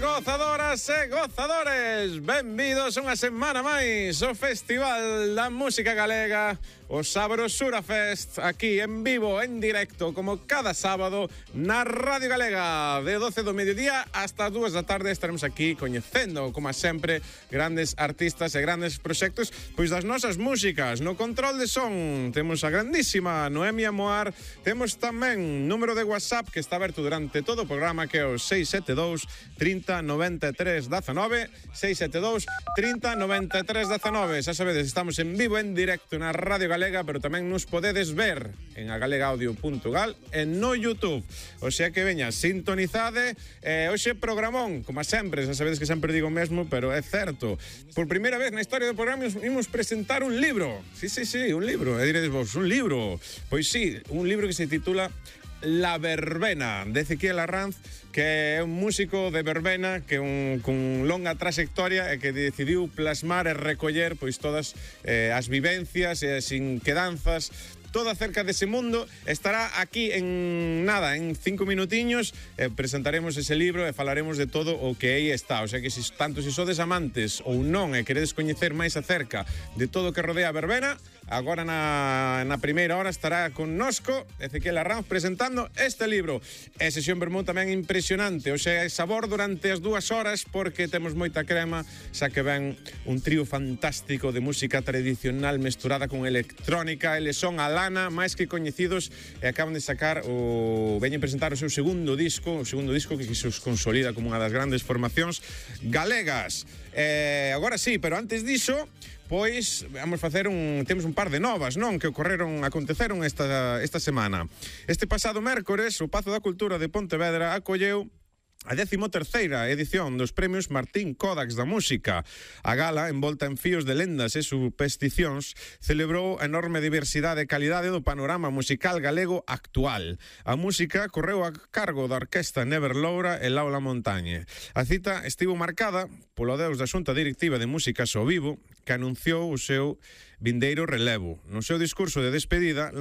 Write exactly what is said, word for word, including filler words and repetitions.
gozadoras e gozadores, benvidos unha semana máis ao Festival da Música Galega, o Sabrosura Fest, aquí en vivo, en directo, como cada sábado na Radio Galega, de doce do mediodía hasta as dúas da tarde. Estaremos aquí coñecendo, como sempre, grandes artistas e grandes proxectos pois das nosas músicas. No control de son temos a grandísima Noemia Moar, temos tamén número de WhatsApp que está aberto durante todo o programa, que é o seis sete dous, trinta, noventa e tres, dezenove, seis sete dous, trinta, noventa e tres, dezenove. Xa sabedes, estamos en vivo, en directo na Radio Galega, pero tamén nos podedes ver en agalegaaudio punto gal e no YouTube. O sea que veña, sintonizade. Eh, hoxe programón, como sempre, xa sabedes que sempre digo o mesmo, pero é certo. Por primeira vez na historia do programa imos presentar un libro. Sí, sí, sí, un libro. E diredes vos, un libro? Pois sí, un libro que se titula La Verbena, de Ezequiel Arranz, que é un músico de verbena que un, con longa trayectoria e que decidiu plasmar e recoller pois todas eh, as vivencias e as inquedanzas, todo acerca dese mundo. Estará aquí en nada, en cinco minutiños, eh, presentaremos ese libro e falaremos de todo o que aí está. O sea que, si, tanto se sodes amantes ou non e queredes coñecer máis acerca de todo o que rodea a verbena, agora na, na primeira hora estará connosco Ezequiel Arranz presentando este libro. E sesión vermú tamén impresionante, o sea, sabor durante as dúas horas, porque temos moita crema, xa que ven un trío fantástico de música tradicional mesturada con electrónica. Eles son a Lana, máis que coñecidos, e acaban de sacar o veñen presentar o seu segundo disco, o segundo disco que se os consolida como unha das grandes formacións galegas. Eh, agora sí, pero antes diso, pois vamos facer un temos un par de novas, non, que ocorreron, aconteceron esta esta semana. Este pasado mércores, o Pazo da Cultura de Pontevedra acolleu a décimo terceira edición dos premios Martín Kodax da Música. A gala, envolta en fíos de lendas e supersticións, celebrou a enorme diversidade e calidade do panorama musical galego actual. A música correu a cargo da orquesta Never Loura e Laura Montañe. A cita estivo marcada polo adeus da Xunta Directiva de Músicas ao Vivo, que anunciou o seu vindeiro relevo. No seu discurso de despedida,